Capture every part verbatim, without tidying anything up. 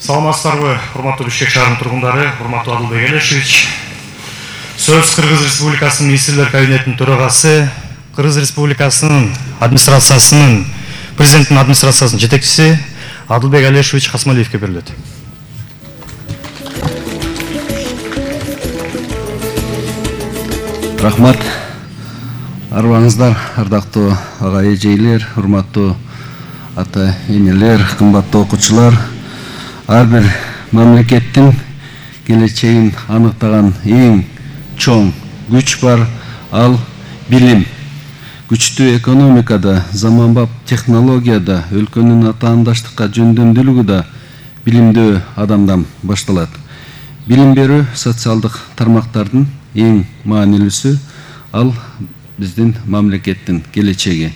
Саламатсыздарбы, урматтуу Бишкек шаарынын тургундары, урматтуу Адылбек Элешевич. Сөз Кыргыз Республикасынын министрлер кабинетинин төрагасы, Кыргыз Республикасынын администрациясынын, президенттин администрациясынын жетекчиси Адылбек Элешевич Касмалиевке берилет. Рахмат. Арбаңыздар, ардактуу ага эжейлер, урматтуу ата энелер, кымбаттуу окуучулар. Ар бир мамлекеттин келечегин аныктаган эң чоң күч бар, ал билим. Күчтүү экономикада, заманбап технологияда, өлкөнүн атаандаштыкка жөндөмдүүлүгү да билимдүү адамдан башталат. Билим берүү социалдык тармактардын эң маанилүүсү, ал биздин мамлекеттин келечеги.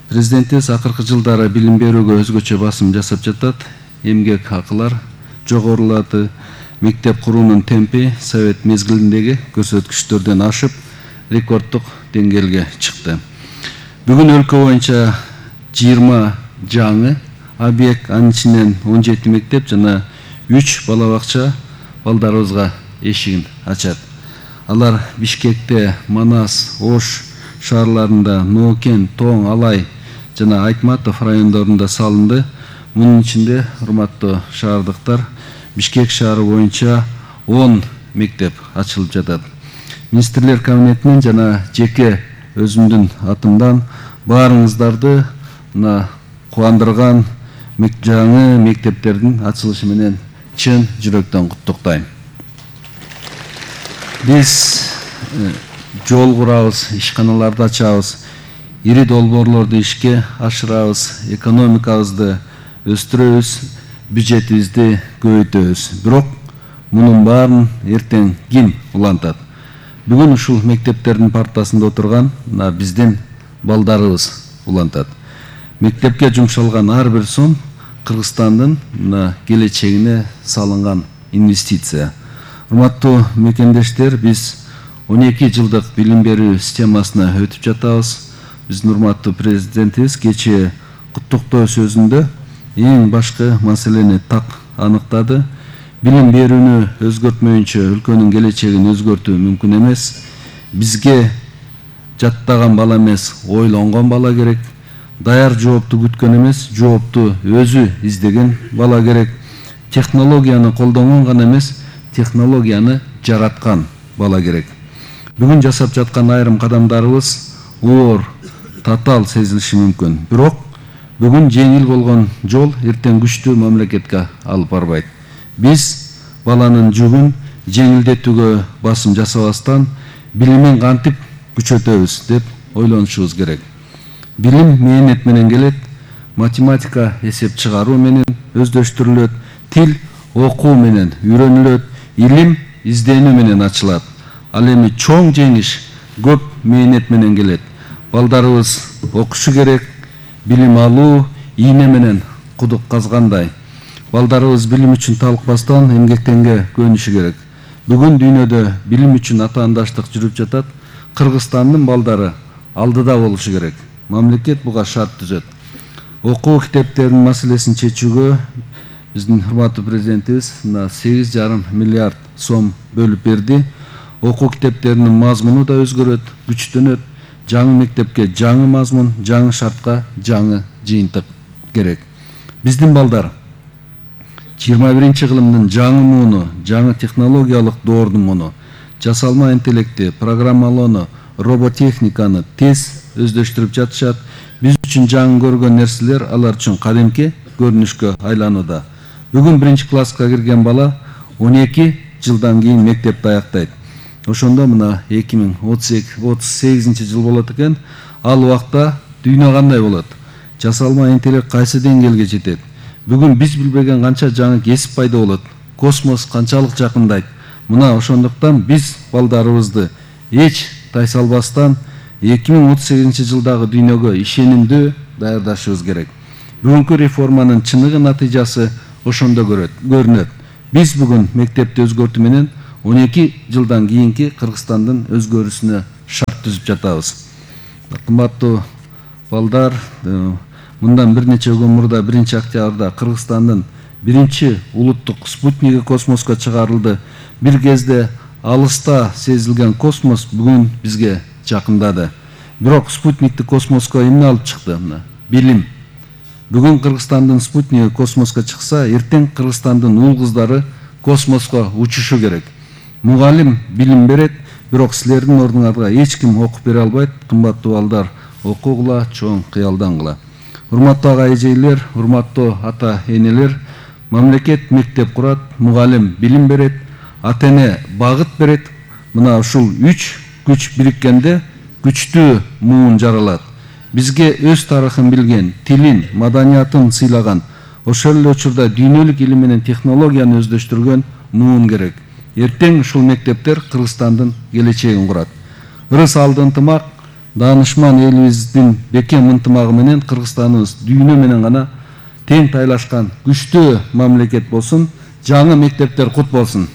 Президентибиз акыркы жылдары билим берүүгө өзгөчө басым жасап жатат. Эмгек акылар жогорулады, мектеп куруунун темпи совет мезгилиндеги көрсөткүчтөрдөн ашып, рекорддук деңгээлге чыкты. Бүгүн өлкө боюнча жыйырма жаңы объект, анын ичинен он жети мектеп жана үч бала бакча балдарыбызга эшигин ачат. Алар Бишкекте, Манас, Ош шаарларында, Ноокен, Тоң, Алай жана Айтматов райондорунда салынды. Мунун ичинде, урматтуу шаардыктар, Бишкек шаары боюнча он мектеп ачылып жатат. Министрлер кабинетинен жана жеке өзүмдүн атымдан баарыңыздарды мына кубандырган жаңы мектептердин ачылышы менен чын жүрөктөн куттуктайм. Биз жол курабыз, ишканаларды ачабыз, ири долбоорлорду ишке ашырабыз, экономикабызды өстүрөбүз, бюджетибизди көбөйтөбүз. Бирок мунун баарын эртең ким улантат? Бүгүн ушул мектептердин партасында отурган мына биздин балдарыбыз улантат. Мектепке жумшалган ар бир сом Кыргызстандын мына келечегине салынган инвестиция. Урматтуу мекендештер, биз он эки жылдык билим берүү системасына өтүп жатабыз. Биздин урматтуу президентибиз кечээ куттуктоо сөзүндө эң башкы маселени так аныктады. Билим берүүнү өзгөртмөйүнчө өлкөнүн келечегин өзгөртүү мүмкүн эмес. Бизге жаттаган бала эмес, ойлонгон бала керек. Даяр жоопту күткөн эмес, жоопту өзү издеген бала керек. Технологияны колдонгон гана эмес, технологияны жараткан бала керек. Бүгүн жасап жаткан айрым кадамдарыбыз оор, татаал сезилиши мүмкүн. Бирок бүгүн жеңил болгон жол эртең күчтүү мамлекетке алып барбайт. Биз баланын жүгүн жеңилдетүүгө басым жасабастан билимин кантип күчөтөбүз деп ойлонушубуз керек. Билим мээнет менен келет, математика эсеп чыгаруу менен өздөштүрүлөт, тил окуу менен үйрөнүлөт, илим изденүү менен ачылат. Ал эми чоң жеңиш көп мээнет менен келет. Балдарыбыз окушу керек, билим алуу ийне менен кудук казгандай. Балдарыбыз билим үчүн талыкпастан эмгектенге көнүшү керек. Бүгүн дүйнөдө билим үчүн атаандаштык жүрүп жатат. Кыргызстандын балдары алдыда болушу керек. Мамлекет буга шарт түзөт. Окуу китептеринин маселесин чечүүгө биздин урматтуу президентибиз мына сегиз жарым миллиард сом бөлүп берди. Окуу китептеринин мазмуну да өзгөрөт, күчтөнөт. Жаңы мектепке жаңы мазмун, жаңы шартка жаңы жыйынтык керек. Биздин балдар жыйырма биринчи кылымдын жаңы мууну, жаңы технологиялык доордун муну, жасалма интеллекти, программалоону, роботехниканы тез өздөштүрүп жатышат. Биз үчүн жаңы көргөн нерселер алар үчүн кадимки көрүнүшкө айланууда. Бүгүн биринчи класска кирген бала он эки жылдан кийин мектепти аяктайт. Ошондо мына эки миң отуз сегизинчи жыл болот экен. Ал убакта дүйнө кандай болот? Жасалма интеллект кайсы деңгээлге жетет? Бүгүн биз билбеген канча жаңы кесип пайда болот? Космос канчалык жакындайт? Мына ошондуктан биз балдарыбызды эч тайсалбастан эки миң отуз сегизинчи жылдагы дүйнөгө ишенимдүү даярдашыбыз керек. Бүгүнкү реформанын чыныгы натыйжасы ошондо көрүнөт. Биз бүгүн мектепти өзгөртүү менен он эки жылдан кийинки Кыргызстандын өзгөрүүсүнө шарт түзүп жатабыз. Кымбаттуу балдар, мындан бир нече күн мурда биринчи октябрда Кыргызстандын биринчи улуттук спутниги космоско чыгарылды. Бир кезде алыста сезилген космос бүгүн бизге жакындады. Бирок спутникти космоско эмне алып чыкты? Билим. Бүгүн Кыргызстандын спутниги космоско чыкса, эртең Кыргызстандын уул кыздары космоско учушу керек. Мугалим билим берет, бирок силердин ордуңарга эч ким окуп бере албайт. Кымбаттуу балдар, окугула, чоң кыялдангыла. Урматтуу ага эжейлер, урматтуу ата энелер, мамлекет мектеп курат, мугалим билим берет, ата эне багыт берет. Мына ушул үч күч бириккенде күчтүү муун жаралат. Бизге өз тарыхын билген, тилин, маданиятын сыйлаган, ошол эле учурда дүйнөлүк илим менен технологияны өздөштүргөн муун керек. Эртең ушул мектептер Кыргызстандын келечегин курат. Ырыс алды ынтымак, даанышман элибиздин бекем ынтымагы менен Кыргызстаныбыз дүйнө менен гана тең тайлашкан күчтүү мамлекет болсун, жаңы мектептер кут болсун.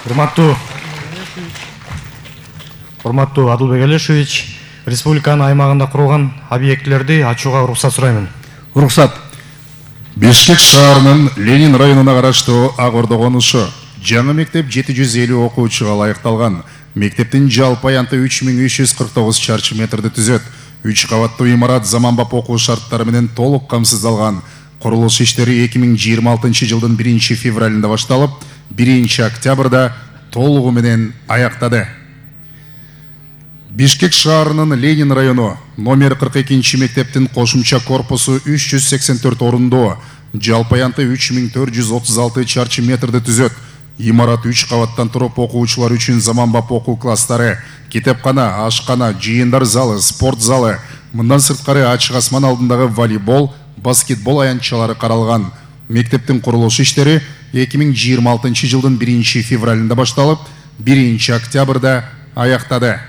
Урматтуу Урматтуу Адылбек Алешевич, республиканын аймагында курулган объектилерди ачууга уруксат сураймын. Уруксат. Бишкек шаарынын Ленин районуна караштуу Ак Ордо конушу жаңы мектеп жети жүз элүү окуучуга ылайыкталган. Мектептин жалпы аянты үч миң үч жүз кырк тогуз чарчы метрди түзөт. үч кабаттуу имарат заманбап окуу шарттары менен толук камсыздалган. Курулуш иштери эки миң жыйырма алтынчы жылдын биринчи февралында башталып, биринчи октябрда толугу менен аяктады. Бишкек шаарынын Ленин району номер кырк экинчи мектептин кошумча корпусу үч жүз сексен төрт орундуу, жалпы аянты үч миң төрт жүз отуз алты чарчы метрди түзөт. Имарат үч кабаттан туруп окуучулар үчүн заманбап окуу класстары, китепкана, ашкана, жыйындар залы, спорт залы, мындан сырткары ачык асман алдындагы волейбол, баскетбол аянтчалары каралган. Мектептин курулуш иштери эки миң жыйырма алтынчы жылдын биринчи февралында башталып, биринчи октябрда аяктады.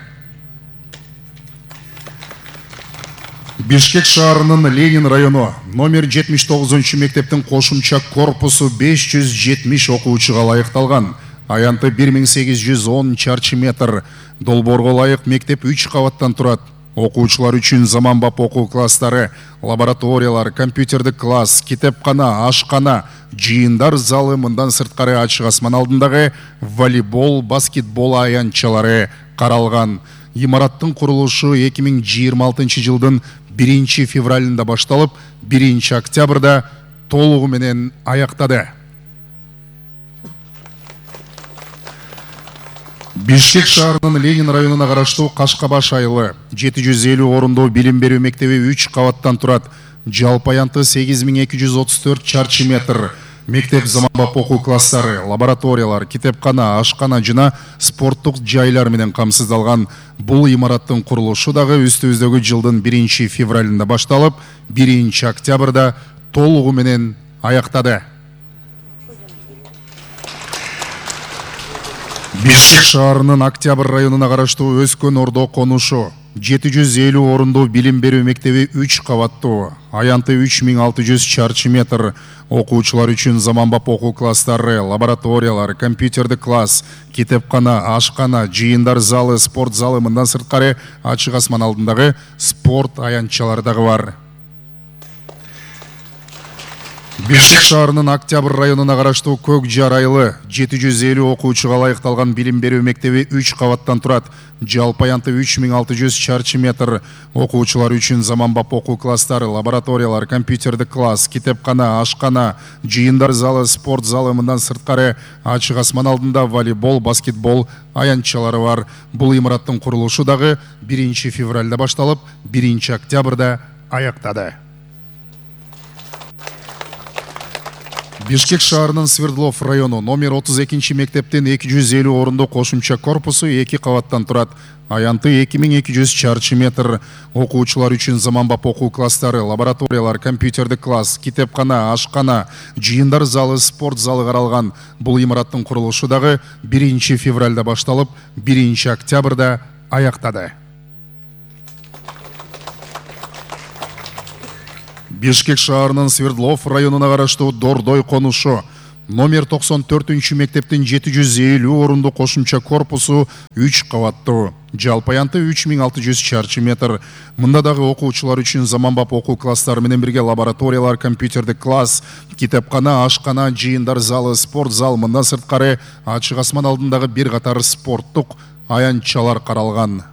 Бишкек шаарынын Ленин району номер жетимиш тогузунчу мектептин кошумча корпусу беш жүз жетимиш окуучуга ылайыкталган. Аянты бир миң сегиз жүз он чарчы метр. Долбоорго ылайык мектеп үч кабаттан турат. Окуучулар үчүн заманбап окуу класстары, лабораториялар, компьютердик класс, китепкана, ашкана, жыйындар залы, мындан сырткары ачык асман алдындагы волейбол, баскетбол аянтчалары каралган. Имараттын курулушу эки миң жыйырма алтынчы жылдын биринчи февралында башталып, биринчи октябрда толугу менен аяктады. Бишкек шаарынын Ленин районуна караштуу Кашкабаш айылы жети жүз элүү орундуу билим берүү мектеби үч кабаттан турат. Жалпы аянты сегиз миң эки жүз отуз төрт чарчы метр. Мектеп заманбап окуу класстары, лабораториялар, китепкана, ашкана жана спорттук жайлар менен камсыздалган. Бул имараттын курулушу дагы үстүбүздөгү жылдын биринчи февралында башталып, биринчи октябрда толугу менен аяктады. Бишкек шаарынын Октябрь районуна караштуу Өскөн Ордо конушу жети жүз элүү орундуу билим берүү мектеби үч кабаттуу, аянты үч миң алты жүз чарчы метр. Окуучулар үчүн заманбап окуу класстары, лабораториялар, компьютердик класс, китепкана, ашкана, жыйындар залы, спорт залы, мындан сырткары ачык асман алдындагы спорт аянтчалары дагы бар. Бишкек шаарынын Октябрь районуна караштуу Көк Жар айылы жети жүз элүү окуучуга ылайыкталган билим берүү мектеби үч кабаттан турат. Жалпы аянты үч миң алты жүз чарчы метр. Окуучулар үчүн заманбап окуу класстары, лабораториялар, компьютердик класс, китепкана, ашкана, жыйындар залы, спорт залы, мындан сырткары ачык асман алдында волейбол, баскетбол аянтчалары бар. Бул имараттын курулушу дагы биринчи февралда башталып, биринчи октябрда аяктады. Бишкек шаарынын Свердлов району номер отуз экинчи мектептин эки жүз элүү орундуу кошумча корпусу эки кабаттан турат. Аянты эки миң эки жүз чарчы метр. Окуучулар үчүн заманбап окуу класстары, лабораториялар, компьютердик класс, китепкана, ашкана, жыйындар залы, спорт залы каралган. Бул имараттын курулушу дагы биринчи февралда башталып, биринчи октябрда аяктады. Бишкек шаарынын Свердлов районуна караштуу Дордой конушу номер токсон төртүнчү мектептин жети жүз элүү орундуу кошумча корпусу үч кабаттуу, Жалпы аянты үч миң алты жүз чарчы метр. Мында дагы окуучулар үчүн заманбап окуу класстары менен бирге лабораториялар, компьютердик класс, китепкана, ашкана, жыйындар залы, спорт зал, мындан сырткары ачык асман алдындагы бир катар спорттук аянтчалар каралган.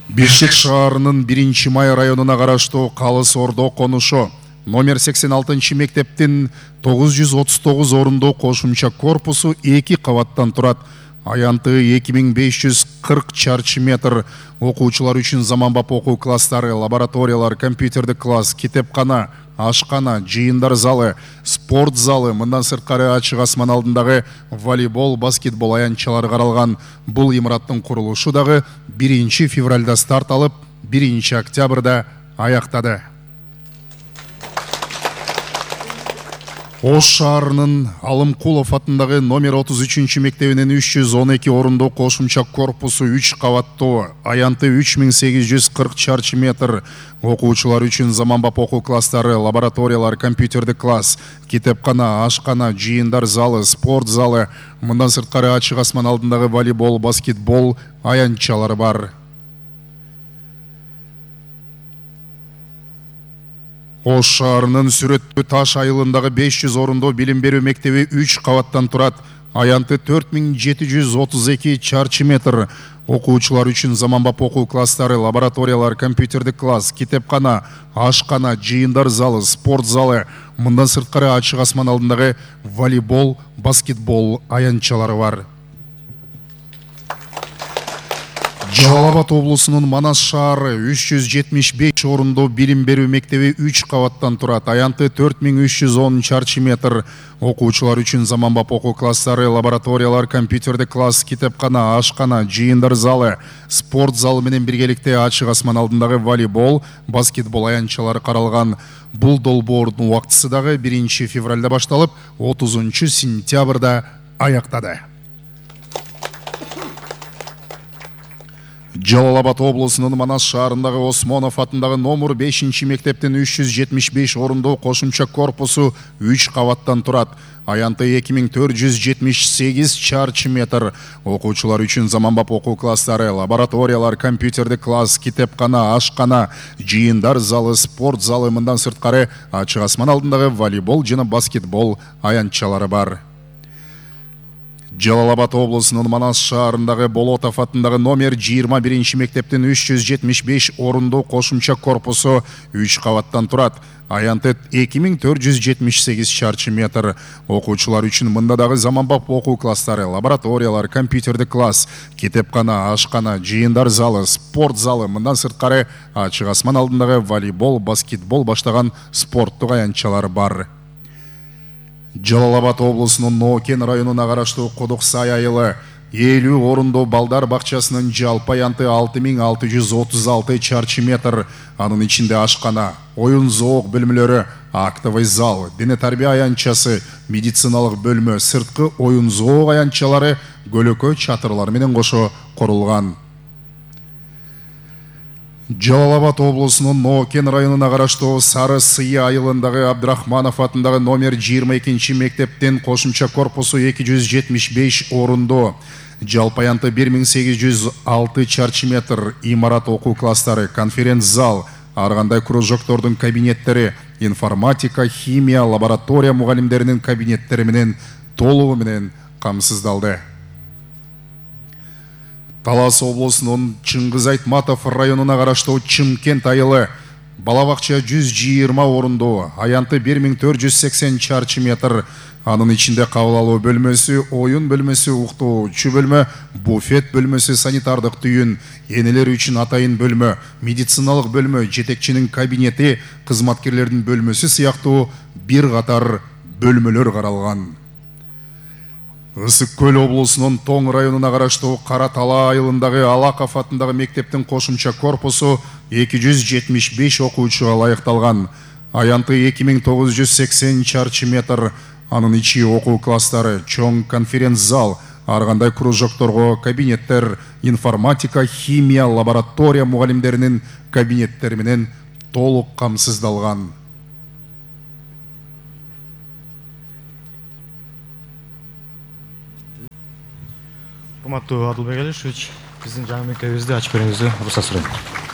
Бишкек шаарынын биринчи май районуна караштуу Калыс Ордо конушу номер сексен алтынчы мектептин тогуз жүз отуз тогуз орундуу кошумча корпусу эки кабаттан турат. Аянты эки миң беш жүз кырк чарчы метр. Окуучулар үчүн заманбап окуу класстары, лабораториялар, компьютердик класс, китепкана, ашкана, жыйындар залы, спорт залы, мындан сырткары ачык асман алдындагы волейбол, баскетбол аянтчалары каралган. Бул имараттын курулушу дагы биринчи февралда старт алып, биринчи октябрда аяктады. Ош шаарынын Алымкулов атындагы номер отуз үчүнчү мектебинин үч жүз он эки орундуу кошумча корпусу үч кабаттуу, аянты үч миң сегиз жүз кырк чарчы метр. Окуучулар үчүн заманбап окуу класстары, лабораториялар, компьютердик класс, китепкана, ашкана, жыйындар залы, спорт залы, мындан сырткары ачык асман алдындагы волейбол, баскетбол аянтчалары бар. Ош шаарынын Сүрөттүү Таш айылындагы беш жүз орундуу билим берүү мектеби үч кабаттан турат. Аянты төрт миң жети жүз отуз эки чарчы метр. Окуучулар үчүн заманбап окуу класстары, лабораториялар, компьютердик класс, китепкана, ашкана, жыйындар залы, спорт залы, мындан сырткары ачык асман алдындагы волейбол, баскетбол аянтчалары бар. Жалал Абад облусунун Манас шаары үч жүз жетимиш беш орундуу билим берүү мектеби үч кабаттан турат. Аянты төрт миң үч жүз он чарчы метр. Окуучулар үчүн заманбап окуу класстары, лабораториялар, компьютердик класс, китепкана, ашкана, жыйындар залы, спорт залы менен биргеликте ачык асман алдындагы волейбол, баскетбол аянтчалары каралган. Бул долбоордун убактысы дагы биринчи февралда башталып, отузунчу сентябрда аяктады. Жалал Абад облусунун Манас шаарындагы Осмонов атындагы номер бешинчи мектептин үч жүз жетимиш беш орундуу кошумча корпусу үч кабаттан турат. Аянты эки миң төрт жүз жетимиш сегиз чарчы метр. Окуучулар үчүн заманбап окуу класстары, лабораториялар, компьютердик класс, китепкана, ашкана, жыйындар залы, спорт залы, мындан сырткары ачык асман алдындагы волейбол жана баскетбол аянтчалары бар. Жалал Абад облусунун Манас шаарындагы Болотов атындагы номер жыйырма биринчи мектептин үч жүз жетимиш беш орундуу кошумча корпусу үч кабаттан турат. Аянты эки миң төрт жүз жетимиш сегиз чарчы метр. Окуучулар үчүн мында дагы заманбап окуу класстары, лабораториялар, компьютердик класс, китепкана, ашкана, жыйындар залы, спорт залы, мындан сырткары ачык асман алдындагы волейбол, баскетбол баштаган спорттук аянтчалар бар. Жалал Абад облусунун Нокен районуна караштуу Кудуксай айылы элүү орундуу балдар бакчасынын жалпы аянты алты миң алты жүз отуз алты чарчы метр. Анын ичинде ашкана, оюн зоок бөлмөлөрү, актовый зал, дене тарбия аянтчасы, медициналык бөлмө, сырткы оюн зоок аянтчалары көлөкө чатырлар менен кошо курулган. Жалал Абад облусунун Нокен районуна караштуу Сары Сый айылындагы Абдрахманов атындагы номер жыйырма экинчи мектептин кошумча корпусу эки жүз жетимиш беш орундуу. Жалпы аянты бир миң сегиз жүз алты чарчы метр. Имарат окуу класстары, конференц зал, ар кандай кружоктордун кабинеттери, информатика, химия, лаборатория мугалимдеринин кабинеттери менен толугу менен камсыздалды. Талас облусунун Чыңгыз Айтматов районуна караштуу Чымкент айылы бала бакча жүз жыйырма орундуу, аянты бир миң төрт жүз сексен чарчы метр. Анын ичинде кабыл алуу бөлмөсү, оюн бөлмөсү, уктоочу бөлмө, буфет бөлмөсү, санитардык түйүн, энелер үчүн атайын бөлмө, медициналык бөлмө, жетекчинин кабинети, кызматкерлердин бөлмөсү сыяктуу бир катар бөлмөлөр каралган. Ысык Көл облусунун Тоң районуна караштуу Кара Тала айылындагы Алаков атындагы мектептин кошумча корпусу эки жүз жетимиш беш окуучуга ылайыкталган. Аянты эки миң тогуз жүз сексен чарчы метр. Анын ичи окуу класстары, чоң конференц зал, ар кандай кружокторго кабинеттер, информатика, химия, лаборатория мугалимдеринин кабинеттери менен толук камсыздалган. урматтуу Адылбек Алишевич, биздин жаңы мектебибизди ачып берүүңүздү уруксат сурайм.